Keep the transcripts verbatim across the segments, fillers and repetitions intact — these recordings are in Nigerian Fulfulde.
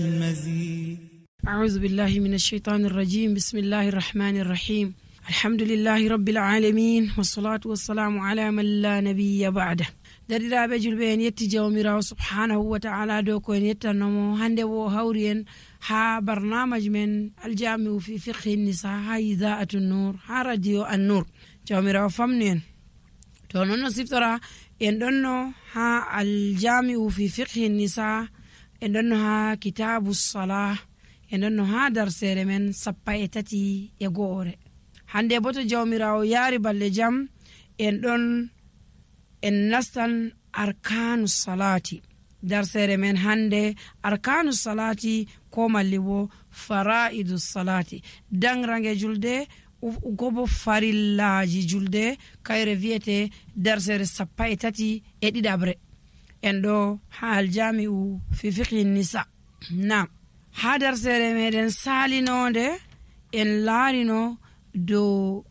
المزيد. أعوذ بالله من الشيطان الرجيم. بسم الله الرحمن الرحيم. الحمد لله رب العالمين والصلاة والسلام على من لا نبي بعده. درiraɓe julɓe en yetti jawmirawo subhanahu wa ta'ala dow ko en yettannomo hande wo hawri en ha barnamaj men aljami'u fi fiqhi nisa ha ida'atu nur ha radio an-nur. jawmirawo famnu en to non no siftora en ɗonno ha aljami'u fi fiqhi nisa en ɗonno ha kitabu salah en ɗonno ha darsere men sappa e tati e go'ore. hande bo to jawmirawo yaari balle jam en ɗon en nastan arkanu salati. darsere men hande arkanu salati ko malli bo faraidu salati, dangrange julde gobo farillaji julde kayre viyete darsere sappa e tati e ɗiɗabre en ɗo ha aljami'u fi fiqhi nisa. nam ha darsere meɗen salinode en laarino dow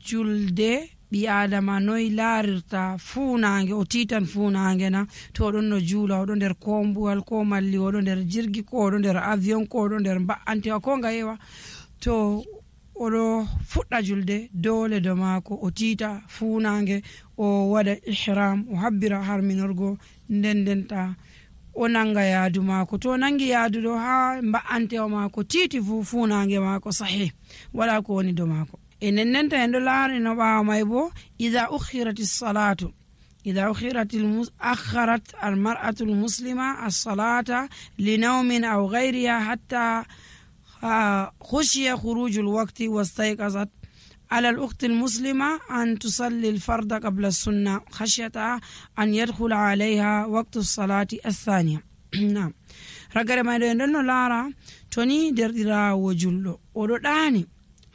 julde ɓi adama noy laarirta funange o titan funange na to oɗon no juula oɗo nder kombuwal ko malli oɗo nder jirgi ko oɗo nder avion ko oɗo nder mba'antewa ko ngayewa to oɗo fuɗɗa julde dole do maako o tiita funange o waɗa ihram o habbira harminorgo nden ndenta o nanga yaadu maako to nangi yaadu ɗo ha mba'antewa maako tiiti fu funange maako sahih wala ko woni do maako. enen nenta en ɗo laari no ɓaawa may bo ida ukhirati salatu ida ukhirati akharat almar'atu almuslima as-salata li nawmin aw ghayriha hatta khushiya khuruj alwaqti wastayqazat على الأخت المسلمة أن تصلي الفرض قبل السنة خشية أن يدخل عليها وقت الصلاة الثانية. نعم رجل ما يدلنا لارا توني دردرا وجلو وداني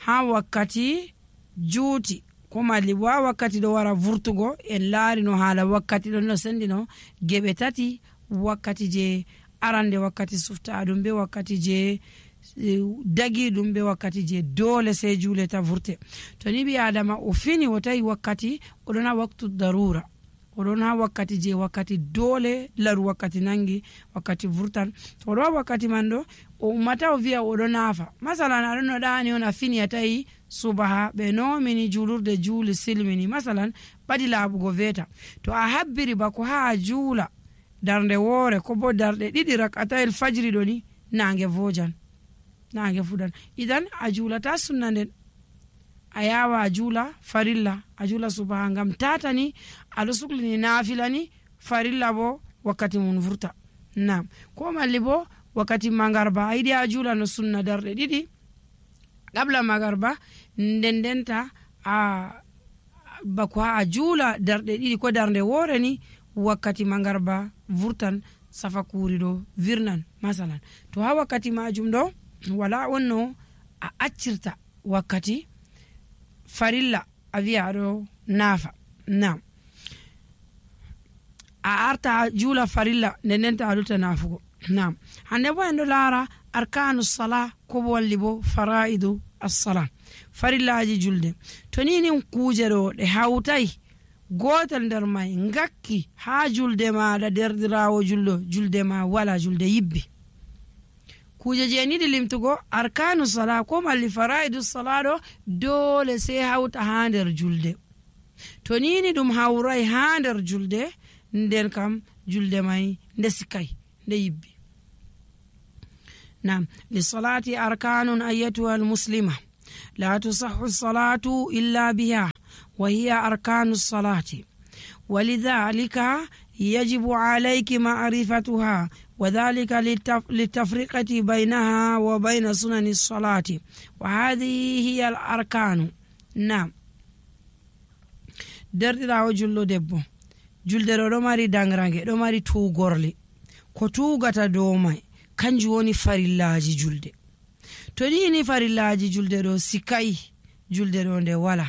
ها وقتي جوتي كما لبوا وقتي دوارا فورتوغو إن لاري نو حالا وقتي دونو سندينو جبتاتي وقتي جي أراندي وقتي سفتا أدوم بي وقتي جي dagi ɗum be wakkati je dole sai juleta vurte. to ni bi adama o fini wotai wakkati oɗon ha waktu darura oɗon ha wakkati je wakkati dole laru wakkati nangi wakkati vurtan to oɗo wakkati man ɗo o ummata o wiya oɗo nafa masalan aɗon no ɗani on a fini a tawi subaha ɓe nomini julurde juuli silmini masalan ɓaɗi laaɓugo veta to a habbiri bako ha a juula darde woore ko bo darɗe ɗiɗi rakatayel fajiri ɗo ni nange vojan nange fudan idan a julata sunna nden a yawa a juula farilla a juula subaha ngam tatani aɗo suklini nafilani farilla bo wakkati mun vurta. nam ko malli bo wakkati magarba a yiɗi a juula no sunna darɗe ɗiɗi qabla magarba nden ndenta a bako ha a juula darɗe ɗiɗi ko darde woore ni wakkati magarba vurtan safa kuuri ɗo virnan masalan to ha wakkati majum ɗo wala onno a accirta wakkati farilla a wiya aɗo naafa. nam a arta juula farilla nden ndenta aɗuta naafugo. nam hande bo en ɗo laara arkanu sala ko bo walli bo faraidu assala farillaji julde. to ninin kuuje ɗo ɗe hawtai gotel nder may ngakki ha julde maɗa derdirawo julɗo julde ma wala julde yibbi. kuje je niɗi limtugo arkanu sala ko malli faraidu sala ɗo dole sai hawta ha nder julde. to nini ɗum hawrai ha nder julde nden kam julde mai nde sikai nde yibbi. nam lisalati arkanun ayyatuha almuslima la tusahhu salatu illa biha wa hiya arkanu salati walidhalika yajibu alayki ma'rifatuha وذلك للتفرقة بينها وبين سنن الصلاة وهذه هي الأركان. نعم derdirawo jullo debbo julde ɗo ɗo mari dangrange ɗo mari tugorle ko tugata dow mai kanjum woni farillaji julde. to ni farillaji julde ɗo sikai julde ɗo nde wala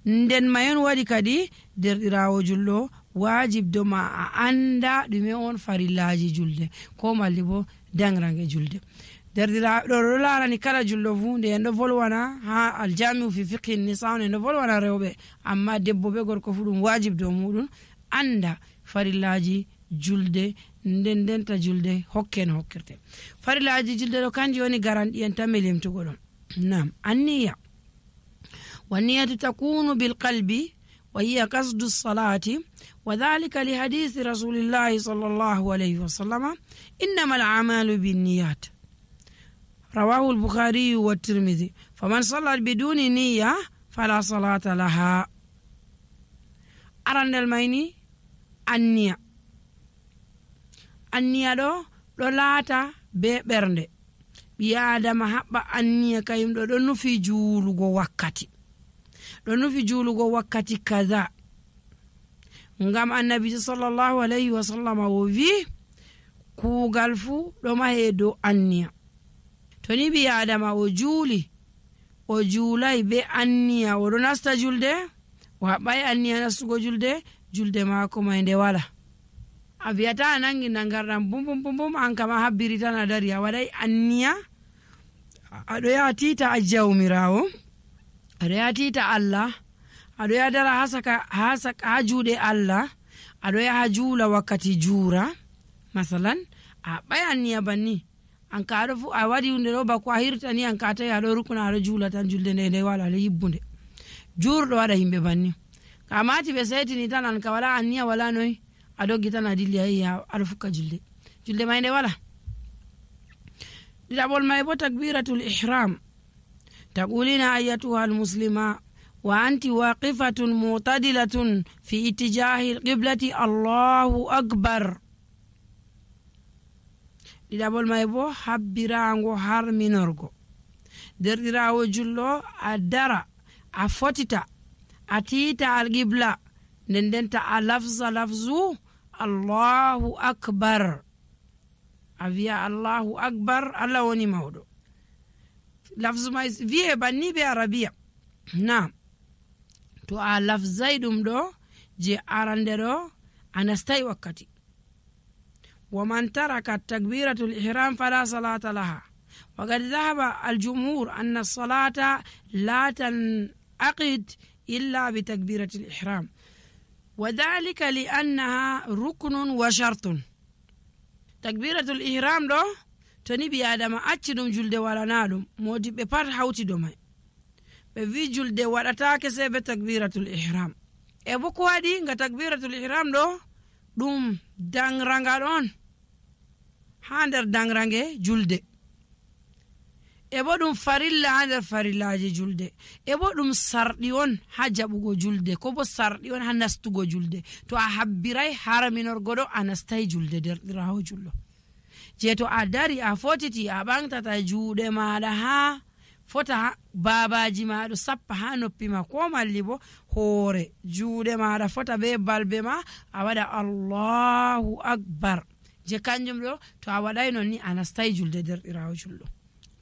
nden mayon waɗi kadi derdirawo jullo wajib do ma a anda ɗume on farillaji julde ko malli bo dangrange julde. derdiraɓe ɗo ɗo larani kala julɗo fu nde en ɗo volwana ha aljamiu fi fiqhi nisa en ɗo volwana rewɓe amma debbo be gorko fu ɗum wajib dow muɗum anda farillaji julde nden denta julde hokken hokkirte. Farillaji julde do kanji woni garandi en tan melimtugo dum. Nam anniya والنية تكون بالقلب وهي قصد الصلاة وذلك لحديث رسول الله صلى الله عليه وسلم إنما الأعمال بالنيات رواه البخاري والترمذي فمن صلى بدون نية فلا صلاة لها. أرند الميني النية النية دو لولاتا ببرند بيادما حبا النية كايم دو دو نفي جولغو وكاتي دو نفي جولغو وكاتي كذا ngam annabi sallallahu alayhi wa sallam o wi kuugal fu do mahe do anniya. To ni bi adama o juuli o juulay be anniya o do nasta julde o haɓɓay anniya nastugo julde julde maako may nde wala. A wiyata a nangi nangarɗam bum bum bum bum an kama habbiri tan a dari a waɗay anniya aɗo yaha tiita a jawmirawo aɗo yaha tiita Allah aɗo yaha dara ha juuɗe Allah aɗo yaha juula wakkati juura masalan a haɓɓay anniya banni an ka aɗo fu a waɗi hunde ɗo bako a hirtani an ka tawi aɗo rukuna aɗo juula tan julde nde nde wala aɗo yibbunde juurɗo waɗa yimɓe banni ka mati ɓe setini tan an ka wala anniya wala noyi a doggi tan a dilli ayi aɗo fukka julde julde may nde wala. ɗiɗaɓol may bo takbiratul ihram taqulina ayyatuha almuslima wa anti waqifatun mu'tadilatun fi ittijahi alqiblati allahu akbar. ɗiɗaɓol may bo habbirango harminorgo derɗirawo jullo a dara a fotita a tiita alqibla nden denta a lafza lafzu allahu akbar a wiya allahu akbar Allah woni mawɗo. lafzu may wiye banni be arabiya. Naam to a lafzay ɗum ɗo je arande ɗo a nastay wakkati. ومن ترك التكبيرة الإحرام فلا صلاة لها وقد ذهب الجمهور أن الصلاة لا تنعقد إلا بتكبيرة الإحرام وذلك لأنها ركن وشرط. تكبيرة الإحرام دو تني بي آدم أتشدم جلد ولا نادم مودي ببار حوتي دومي بفي جلد ولا تاكسي بتكبيرة الإحرام إبو كوادي نغا تكبيرة الإحرام دو ɗum dangranga ɗon ha nder dangrange julde e bo ɗum farilla ha nder farillaji julde e bo ɗum sarɗi on ha jaɓugo julde ko bo sarɗi on ha nastugo julde. To a habbiray harminorgo ɗo a nastay julde derɗirawo jullo je to a dari a fotiti a ɓantata juuɗe maɗa ha fota babaji maɗo sappa ha noppi ma ko malli bo hoore juuɗe maɗa fota be balbe ma a waɗa allahu akbar je kanjum ɗo to a waɗay non ni a nastay julde derɗirawo jullo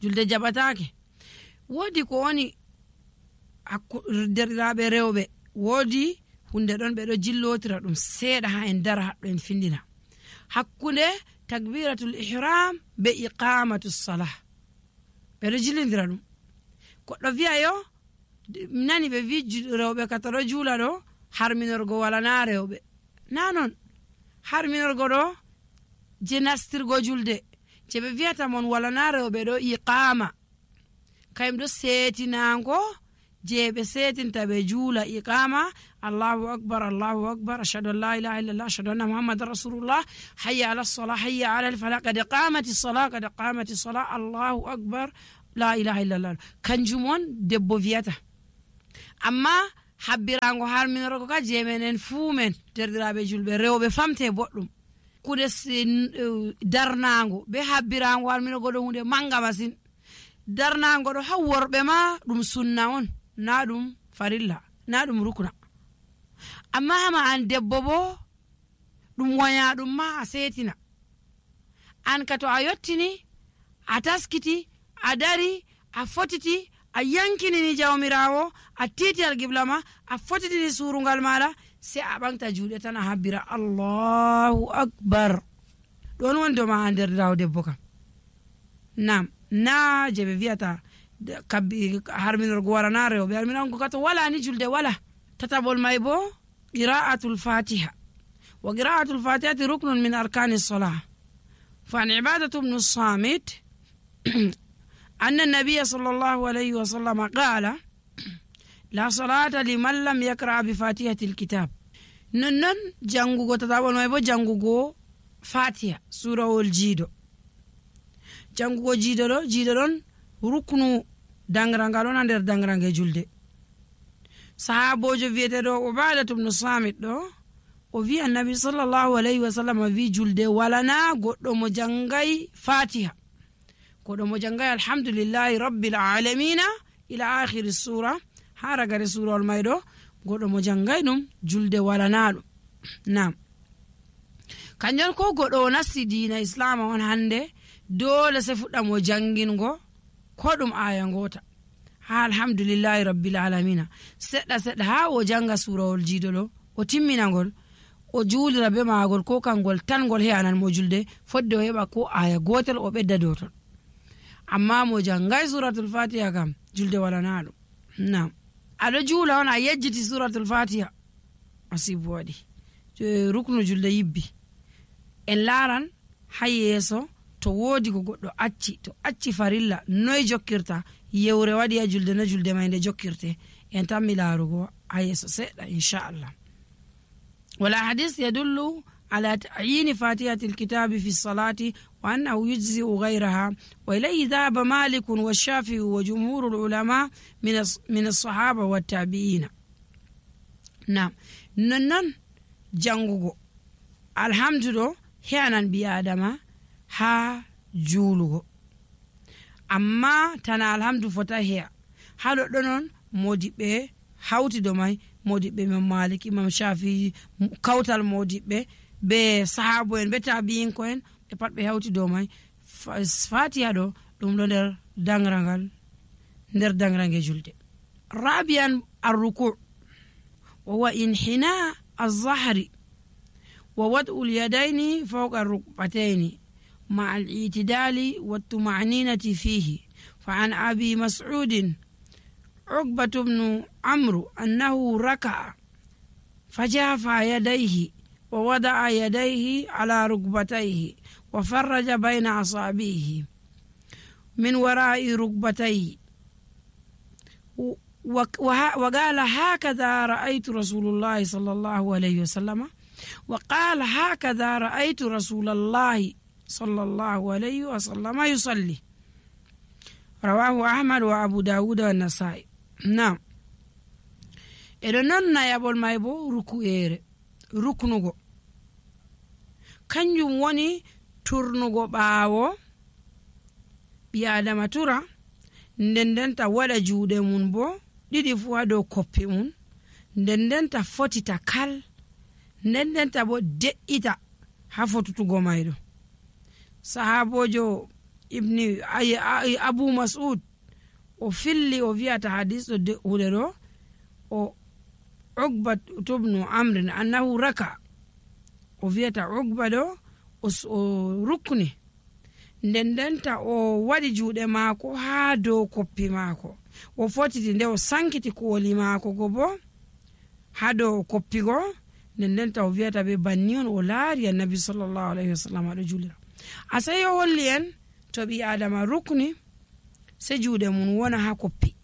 julde jaɓatake. Woodi ko woni derɗiraɓe rewɓe woodi hunde ɗon ɓe ɗo jillotira ɗum seeɗa ha en dara haɗɗo en findina hakkunde takbiratul ihram be iqamatus salah ɓe ɗo jillidira ɗum. Goɗɗo wiya yo nani ɓe wi rewɓe kata ɗo juula ɗo harminorgo wala na rewɓe na non. Harminorgo ɗo je nastirgo julde je ɓe wiyata mon wala na rewɓe ɗo iqama kayum ɗo seetinango je ɓe setinta ɓe juula iqama allahu akbar allahu akbar ashhadu an la ilaha illallah ashhadu anna muhammadan rasulullah hayya ala salah hayya ala al falah qad qamati salah qad qamati salah allahu akbar la ilaha illallah kanjum on debbo wiyata. Amma habbirango harminorgo ka je menen fuu men derɗiraɓe julɓe rewɓe famte boɗɗum kude darnago be habbirango harminorgo ɗo hunde manga masin. Darnago ɗo ha worɓe ma ɗum sunna on na ɗum farilla na ɗum rukna. Amma hama an debbo bo ɗum wonya ɗum ma a setina an ka to a yottini a taskiti a dari a fotiti a yankinini jawmirawo a titi alqibla ma a fotitini surungal maɗa sai a ɓanta juuɗe tan a habbira allahu akbar ɗon won doma a nder daw debbo kam. Nam na je ɓe wiyata kabbi harminorgo wala na rewɓe harminorgo kato wala ni julde wala. Tataɓol may bo qira'atul fatiha وقراءة الفاتحة ركن من أركان الصلاة. فعن عبادة بن الصامت أن النبي صلى الله عليه وسلم قال لا صلاة لمن لم يقرأ بفاتحة الكتاب. ننن جانغوغو تتابون ما يبو جانغوغو فاتحة سورة الجيدو. جانغوغو جيدو جيدو ركنو دانغرانغالون اندر دانغرانغي جولدي. صحابو جو فيتدو عبادة بن الصامت دو وفي النبي صلى الله عليه وسلم في جولدي ولنا قدو مجانغي فاتحة قدو مجانغي الحمد لله رب العالمين إلى آخر السورة هارغر السورة المايدو قدو مجانغي نم جولدي ولنا. نعم kanjon ko goɗo nasti diina islam on hande dole se fuɗɗa mo jangingo ko ɗum aya ngota ha alhamdulillahi rabbil alamina seɗɗa seɗɗa ha o janga surawol jiidolo o timminagol o juulira be magol ko kangol tan ngol heyanan mo julde fodde o heɓa ko aya gotel o ɓedda dow ton amma mo jangay suratul fatiha kam julde walana ɗum. nam aɗo juula on a yejjiti suratul fatiha asibu waɗi ruknu julde yibbi en laran ha yeeso to woodi ko goɗɗo acci to acci farilla noy jokkirta yewre waɗi ha julde no julde may nde jokkirte en tammi laarugo ha yeeso seɗɗa inchallah. wala hadis yadullu على تعيين فاتحة الكتاب في الصلاة وأنه يجزئ غيرها وإليه ذهب مالك والشافعي وجمهور العلماء من من الصحابة والتابعين. نعم ننن جانغو الحمد لله هيانان بيادما ها جولغو amma tana alhamdu fota heya ha ɗoɗɗo non modiɓɓe hawti do may modiɓɓe imam malik imam shafi kawtal modiɓɓe be sahabo en be tabi'inko en ɓe pat ɓe hawti do may fatiha ɗo ɗum ɗo nder dangrangal nder dangrange julde. rabian arruku wa huwa inhina az-zahri wa wad'u al-yadayni fawqa ar-rukbatayni مع الاعتدال والطمأنينة فيه. فعن أبي مسعود عقبة بن عمرو أنه ركع فجافى يديه ووضع يديه على ركبتيه وفرج بين أصابعه من وراء ركبتيه وقال هكذا رأيت رسول الله صلى الله عليه وسلم وقال هكذا رأيت رسول الله صلى الله عليه وسلم يصلي. رواه أحمد وأبو داود والنسائي. نعم إذن يابول مايبو ركو إيري ركنوغو kanjum woni turnugo ɓaawo ɓi adama tura nden ndenta waɗa juuɗe mum bo ɗiɗi fu ha dow koppi mum nden ndenta fotita kal nden ndenta bo de'ita ha fotutugo mayɗo. sahabojo ibni abu mas'ud o filli o wi'ata hadis ɗo de'ude ɗo o Uqbat ibn Amr annahu raka o wi'ata Uqba ɗo o rukni nden ndenta o waɗi juuɗe maako ha dow koppi maako o fotiti nde o sankiti kooli maako go bo ha dow koppi go nden ndenta o wi'ata be banni on o laari annabi sallallahu alaihi wasallam aɗo julira. asay o holli en to ɓi adama rukni se juuɗe mum wona ha koppi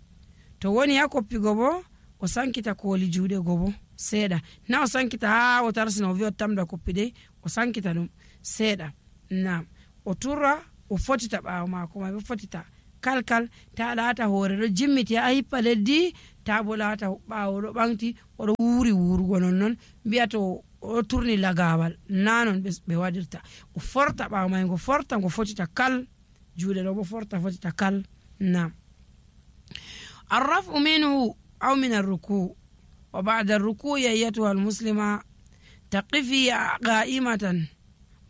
to woni ha koppi go bo o sankita kooli juuɗe go bo seeɗa na o sankita ha o tarsina o wi o tamda koppi de o sankita ɗum seeɗa. nam o turra o fotita ɓaawo maako ma o fotita kalkal ta laata hoore ɗo jimmiti ha hippa leddi ta bo laata ɓaawo ɗo ɓanti oɗo wuuri wuurugo nonnon mbiya to o turni lagawal nanon ɓe waɗirta o forta ɓaawo may ngo forta ngo fotita kal juuɗe ɗo bo forta fotita kal. nam arrafu minhu aw min arruku wa ba'da arruku ayyatuha almuslima taqifi qa'imatan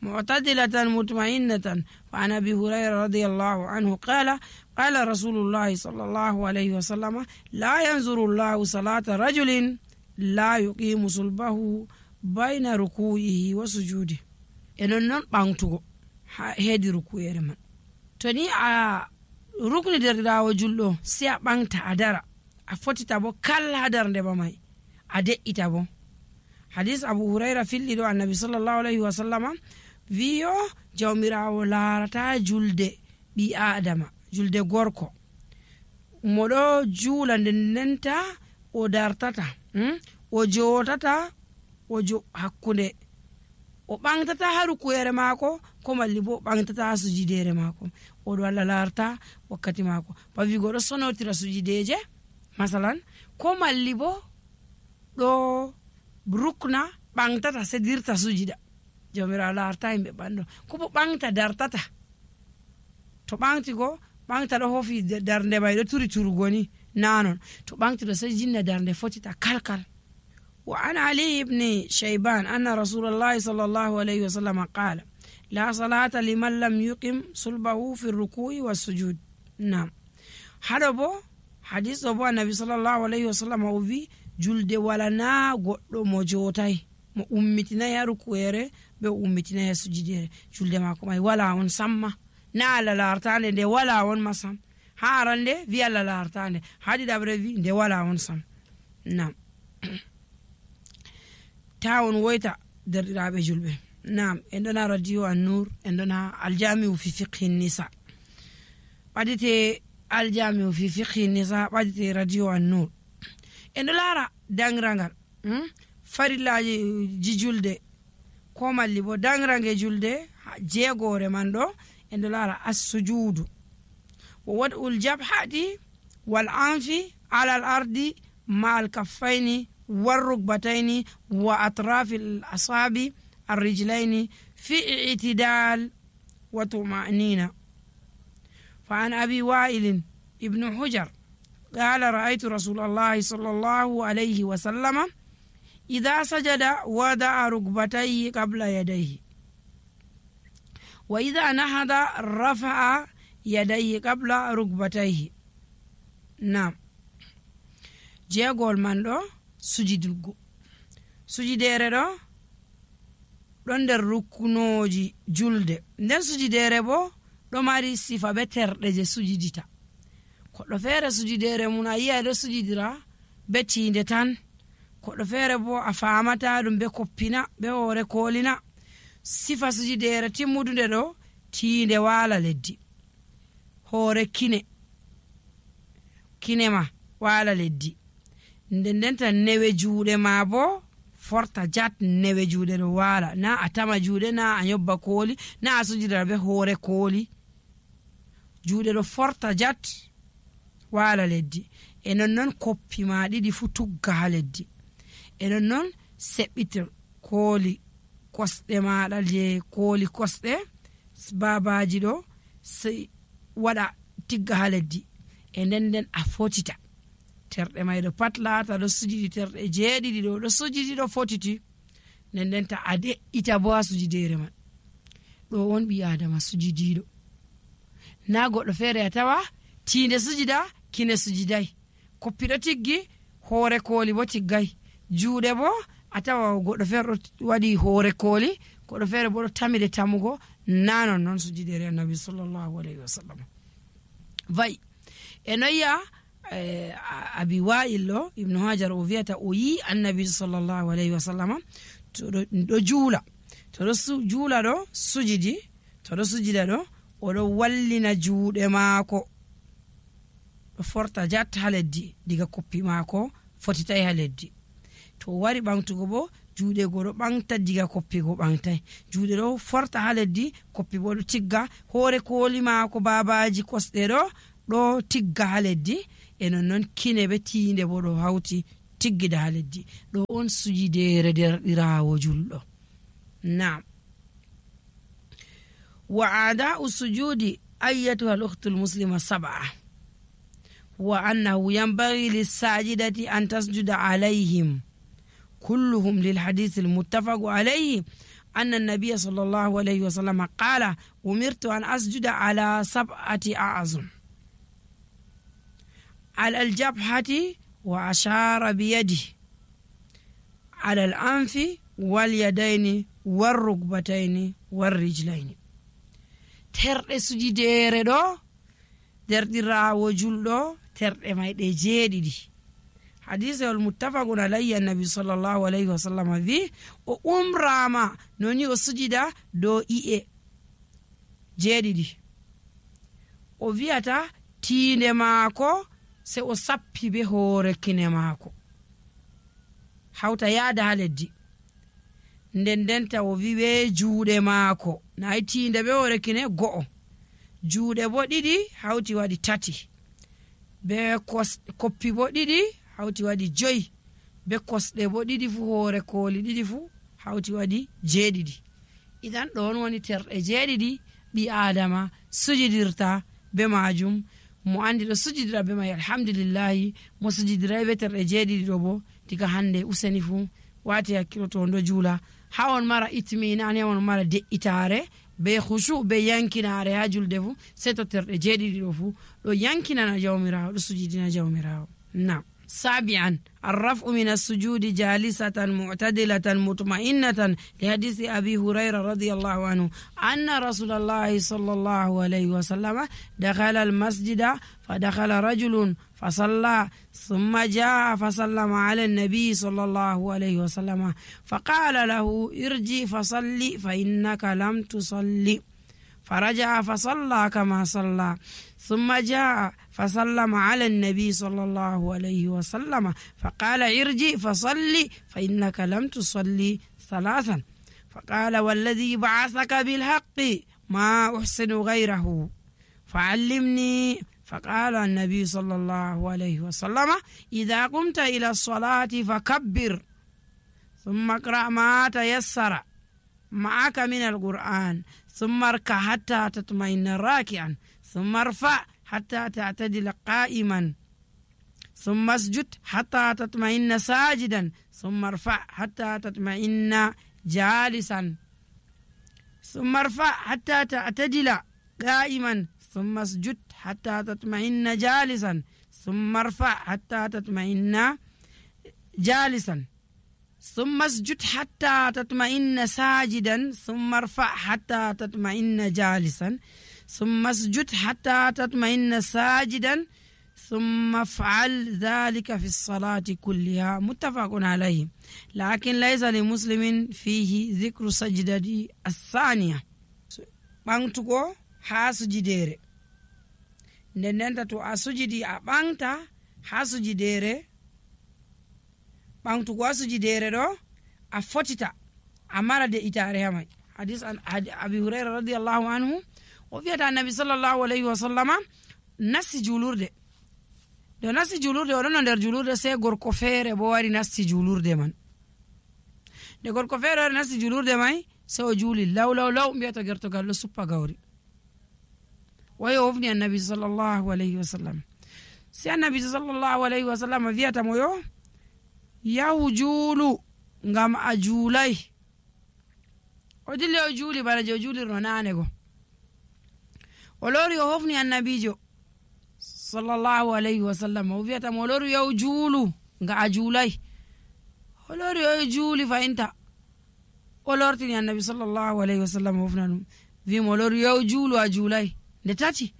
معتدلة مطمئنة. وعن أبي هريرة رضي الله عنه قال قال رسول الله صلى الله عليه وسلم لا ينظر الله صلاة رجل لا يقيم صلبه بين ركوعه وسجوده. enon non ɓantugo heedi rukuyere man to ni a rukni derɗirawo julɗo si a ɓanta a dara a fotita bo kala ha darde ba may a de'ita bo hadis Abu Hurayra filli ɗo annabi sallallahu alaihi wa sallama wiyo jawmirawo laarata julde ɓi adama julde gorko moɗo juula nden ndenta o dartata hmm? o jotata o jo hakkunde o ɓantata ha rukuyere maako ko malli bo ɓantata ha sujidere maako oɗo Allah larta wakkati maako bawi goɗo sonotira sujideje masalan ko malli bo ɗo rukna ɓantata sedirta sujida jawmirawo larta yimɓe ɓanɗo ko bo ɓanta dartata to ɓanti go ɓanta ɗo hofi darde may ɗo turi turugo ni nanon to ɓanti ɗo sai jinna darde fotita kalkal. وعن علي بن شيبان أن رسول الله صلى الله عليه وسلم قال لا صلاة لمن لم يقم صلبه في الركوع والسجود. نعم هذا بو حديث أبو النبي صلى الله عليه وسلم وفي جلد ولنا قد موجوتاي mo ummitinayi ha rukuere be ummitinayi ha sujudere julde mako may wala on samma na ala lartande nde wala on masam ha arande wi ala lartande hadi dabre wi nde wala on sam. Nam tawon woyta derɗiraɓe julɓe. Nam en ɗona radio An-Nur en ɗona aljamiu fi fiqhi nisa ɓadite aljamiu fi fiqhi nisa ɓadite radio An-Nur en ɗo lara dangrangal hmm? farillaji ji julde ko malli bo dangrange julde jeegore man ɗo en ɗo lara as-sujudu wa wad'ul jabhati wal anfi ala al ardi ma al kaffaini war rukbataini wa atrafi al asabi الرجلين في اعتدال وطمأنينة. فعن أبي وائل ابن حجر قال رأيت رسول الله صلى الله عليه وسلم إذا سجد وضع ركبتيه قبل يديه وإذا نهض رفع يديه قبل ركبتيه. نعم جيغول من دو سجدلغو سجدere ɗo ɗon nder rukkunoji julde nden sujidere bo ɗo mari sifa be terɗe je sujidita. Koɗɗo feere sujidere mun a yi'a ɗo sujidira be tinde tan, koɗɗo feere bo a famata ɗum be koppina be hoore kolina. Sifa sujidere timmudude ɗo tinde wala leddi, hoore kine kinema wala leddi, nden ndenta newe juuɗe ma bo forta jat newe juuɗe ɗo wala, na a tama juuɗe na a yobba kooli na a sujidira be hoore kooli, juuɗe ɗo forta jat wala leddi. E non non koppi ma ɗiɗi fu tugga ha leddi, e non non seɓɓitir kooli kosɗe maɗa je kooli kosɗe babaji ɗo waɗa tigga ha leddi, e nden nden a fotita terɗe may ɗo pat laata ɗo sujidi terɗe jeeɗiɗi ɗo ɗo sujidi ɗo fotiti, nden nden ta a de'ita bo ha sujidere man. ɗo won ɓi adama sujidiɗo, na goɗɗo feere a tawa tinde sujida kine sujiday, koppi ɗo tiggi hoore kooli bo tiggay, juuɗe bo a tawa goɗɗo feere ɗo waɗi hoore kooli, goɗɗo feere bo ɗo tamide tamugo, na non noon sujidere annabi sallallahu alayhi wa sallam vayi. e noyya Eh, abi wa'il ɗo ibnu hajar o wiyata o yi annabi sallallahu alayhi wa sallam to ɗo juula to ɗo juula ɗo sujidi to ɗo sujida ɗo oɗo wallina juuɗe maako ɗo forta jatta ha leddi diga koppi maako fotitay ha leddi, to wari ɓamtugo bo juuɗe go ɗo ɓamta diga koppi go ɓamtay, juuɗe ɗo forta ha leddi koppi bo ɗo tigga, hoore kooli maako babaji kosɗe ɗo ɗo tigga ha leddi, e non non kine be tinde bo ɗo hawti tiggida ha leddi. ɗo on sujidere derɗirawo julɗo. Naam wa ada'u sujudi ayyatuha al-ukhtu al-muslima sab'a wa annahu yanbaghi lis-sajidati an tasjuda alayhim kulluhum lil hadith al-muttafaq alayhi anna an-nabiy sallallahu alayhi wa sallam qala umirtu an asjuda ala sab'ati a'zum على الجبهة وأشار بيده على الأنف واليدين والركبتين والرجلين. terɗe sujidere ɗo derɗirawo julɗo terɗe mayɗe jeeɗiɗi hadisewol muttafaqun alayhi annabi sallllahu alayhi wa sallam wi o umrama noni o sujida dow i'e jeeɗiɗi o wiyata tiinde maako se o sappi be hoore kine maako hawta yaada ha leddi nden ndenta o wi be juuɗe maako nayi tiinde be hoore kine go'o juuɗe bo ɗiɗi hawti waɗi tati be koppi bo ɗiɗi hawti waɗi joyi be kosɗe bo ɗiɗi fu hoore kooli ɗiɗi fu hawti waɗi jeeɗiɗi idan ɗon woni terɗe jeeɗiɗi ɓi adama sujidirta be majum mo andi ɗo sujidira be mai alhamdulillahi mo sujidirai be terɗe jeeɗiɗi ɗo bo diga hande useni fu wati hakkilo to ndo juula ha on mara itminani ha on mara de'itare be khushu be yankinare ha julde fu sei to terɗe jeeɗiɗi ɗo fu ɗo yankinana jawmirawo ɗo sujidina jawmirawo nam سابعا الرفع من السجود جالسة معتدلة مطمئنة لحديث أبي هريرة رضي الله عنه أن رسول الله صلى الله عليه وسلم دخل المسجد فدخل رجل فصلى ثم جاء فسلم على النبي صلى الله عليه وسلم فقال له ارجع فصلي فإنك لم تصلي فرجع فصلى كما صلى ثم جاء فسلم على النبي صلى الله عليه وسلم فقال ارجع فصلي فإنك لم تصلي ثلاثا فقال والذي بعثك بالحق ما أحسن غيره فعلمني فقال النبي صلى الله عليه وسلم إذا قمت إلى الصلاة فكبر ثم اقرأ ما تيسر معك من القرآن ثم اركع حتى تطمئن راكعا ثم ارفع حتى تعتدل قائما ثم اسجد حتى تطمئن ساجدا ثم ارفع حتى تطمئن جالسا ثم ارفع حتى تعتدل قائما ثم اسجد حتى تطمئن جالسا ثم ارفع حتى تطمئن جالسا ثم اسجد حتى تطمئن ساجدا ثم ارفع حتى تطمئن جالسا ثم اسجد حتى تطمئن ساجدا ثم افعل ذلك في الصلاة كلها متفق عليه لكن ليس لمسلم فيه ذكر سجدة الثانية بانتكو ها سجديري ndendenta to a sujidi a ɓangta ha sujidere ɓangtugo ha sujidere ɗo a fotita a mara de itare hamai hadis an abi hurayra radiyallahu anhu o wiyata annabi sallallahu alayhi wa sallama nasti julurde do nasti julurde o ɗon no nder julurde sei gorko feere bo wari nasti julurde man nde gorko feere wari nasti julurde mai sei o juuli law law law mbiyata gertogal ɗo suppa gawri wayi o hofni annabi sallallahu alayhi wa sallam si annabi sallallahu alayhi wa sallam wiyata mo yo yahu juulu ngam a juulay o dilli o juuli bana je o juulirno naane go o lori o hofni annabijo sallallahu alayhi wa sallam o wiyata mo lori yahu juulu nga a juulay o lori o juuli fayinta o lortini annabi sallallahu alayhi wa sallam o hofna ɗum wi mo lori yahu juulu a juulay nde tati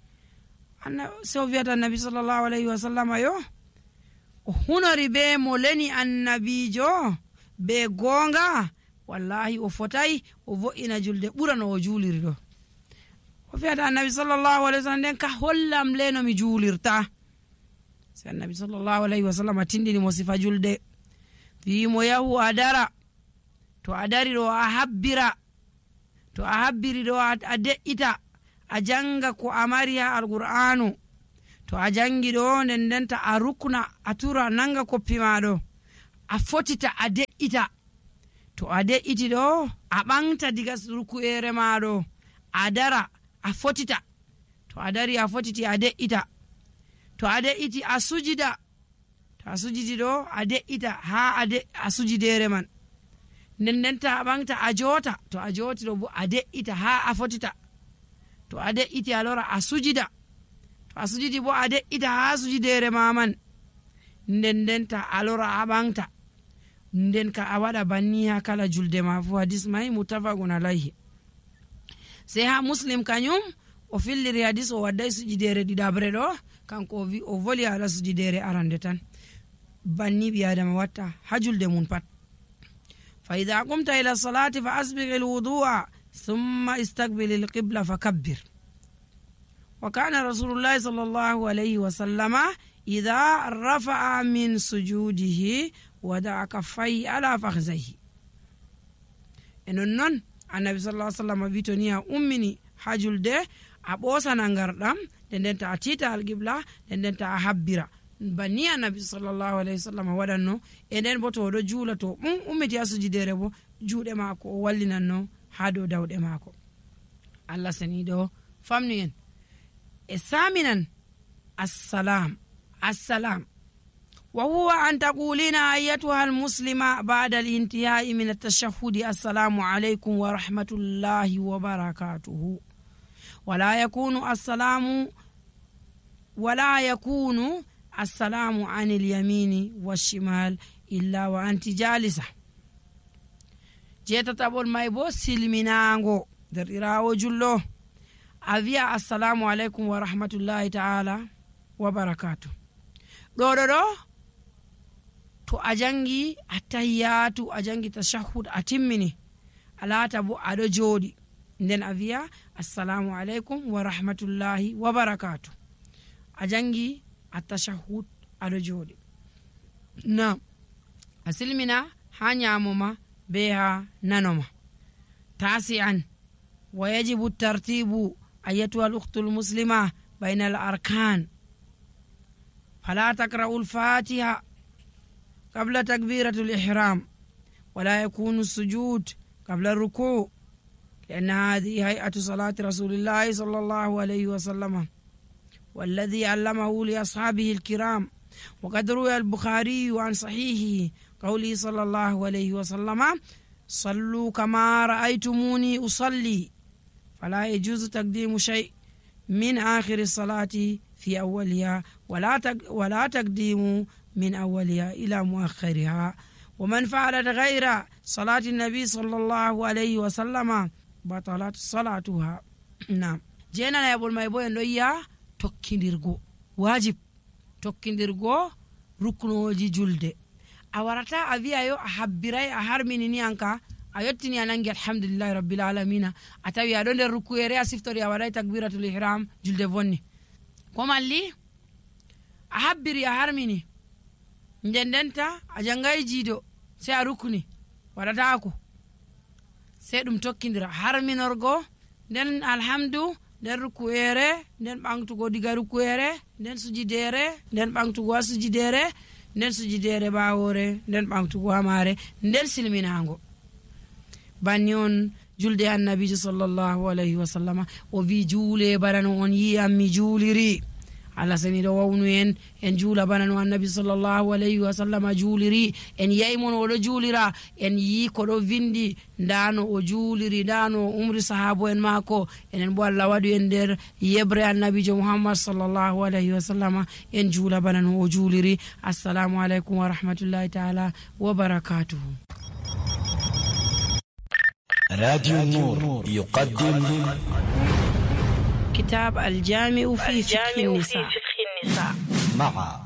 so wiyata annabi sallallahu alayhi wa sallam yo o hunori be mo leni annabijo be gonga wallahi o fotai o vo'ina julde ɓurano o juuliri ɗo o wiyata annabi sallallahu alayhi wa sallam nden ka hollam leno mi juulirta si annabi sallallahu alayhi wa sallam tindini mo sifa julde wimo yahu a dara to a dari ɗo a habbira to a habbiri ɗo a de'ita a janga ko a mari ha alqur'anu to a jangi ɗo nden ndenta a rukna a tura nanga koppi maɗo a fotita a de'ita to a de'iti ɗo a ɓangta diga ruku'ere maɗo a dara a fotita to a dari a fotiti a de'ita to a de'iti a sujida to a sujidi ɗo a de'ita ha a sujidere man nden ndenta a ɓangta a jota to a joti ɗo bo a de'ita ha a fotita to a de'iti a lora a sujida to a sujidi bo a de'ita ha sujidere maman nden ndenta a lora a ɓangta nden ka a waɗa banni ha kala julde ma fu hadis mai mutafaqun alayhi sei ha muslim kañum o filliri hadis o wadday sujidere ɗiɗabre ɗo kanko o wi o voli ala sujidere arande tan banni bi adama watta ha julde mun pat. fa idha qumta ila salati fa asbigh alwudu'a thumma istaqbil alqibla fakabbir. wa kana rasulullah sallallahu alayhi wa sallama idha rafa'a min sujudihi wada'a kaffayhi ala fakhzayhi. enon non annabi sallallahu alaihi wasallam vitoni a ummini ha julde a ɓosana ngardam nden nden ta a tita alqibla nden nden ta a habbira banni annabi sallallahu alaihi wasallam waɗanno. e nden bo to oɗo juula to um ummiti ha sujudere bo juuɗe maako o wallinanno ha dow dawɗe maako. allah saniɗo famnu en e saminan assalam assalam وهو أن تقولين أيتها المسلمة بعد الانتهاء من التشهد السلام عليكم ورحمة الله وبركاته. ولا يكون السلام ولا يكون السلام عن اليمين والشمال إلا وأنت جالسة. جيتا تابول مايبو سلمينانغو در إراو جلو أذيا السلام عليكم ورحمة الله تعالى وبركاته. دو دو دو to a jangi attahiyatu a jangi tashahhud a timmini alata bo aɗo jooɗi nden a wiya assalamu aleykum wa rahmatullahi wa barakatuh. a jangi attashahhud aɗo jooɗi na a silmina ha nyamoma be ha nanoma. tasi'an wa yajibu tartibu ayatuha al-ukhtu al-muslima bayna al-arkan fala takra'u al-fatiha قبل تكبيرة الإحرام ولا يكون السجود قبل الركوع لأن هذه هيئة صلاة رسول الله صلى الله عليه وسلم والذي علمه لأصحابه الكرام. وقد روى البخاري عن صحيحه قوله صلى الله عليه وسلم صلوا كما رأيتموني أصلي فلا يجوز تقديم شيء من آخر الصلاة في أولها ولا ولا تقديم من أولها إلى مؤخرها. ومن فعلت غير صلاة النبي صلى الله عليه وسلم بطلت صلاتها. نعم جينا يقول ما يبوي نويا tokkindirgo wajib tokkindirgo ruknoji julde a warata a wiya yo a habbiray a harmini ni anka a yottini a nangi alhamdulillahi rabbil alamina a tawi aɗo nder rukuyere a siftori a waɗay takbiratul ihram julde vonni ko malli a habbiri a harmini nden ndenta a jangay jiido sey a rukuni waɗatako sey ɗum tokkidira harminorgo nden alhamdu nden rukuyere nden ɓangtugo diga rukuyere nden sujidere nden ɓangtugo ha sujidere nden sujidere ɓawore nden ɓangtugo ha mare nden silminago. banni on julde annabijo sallallahu alayhi wa sallama o wi juule bana no on yi am mi juuliri. Allah sani do wawnu en en juula bana no annabi sallallahu alayhi wa sallama juuliri en yayi mon o do juulira en yi ko do vindi ndano o juuliri ndano umri sahabo en mako enen bo Allah wadu en der yebre annabi jo Muhammad sallallahu alayhi wa sallama en juula bana no o juuliri. Assalamu alaykum wa rahmatullahi ta'ala wa barakatuh. راديو النور يقدم كتاب الجامع في فقه النساء مع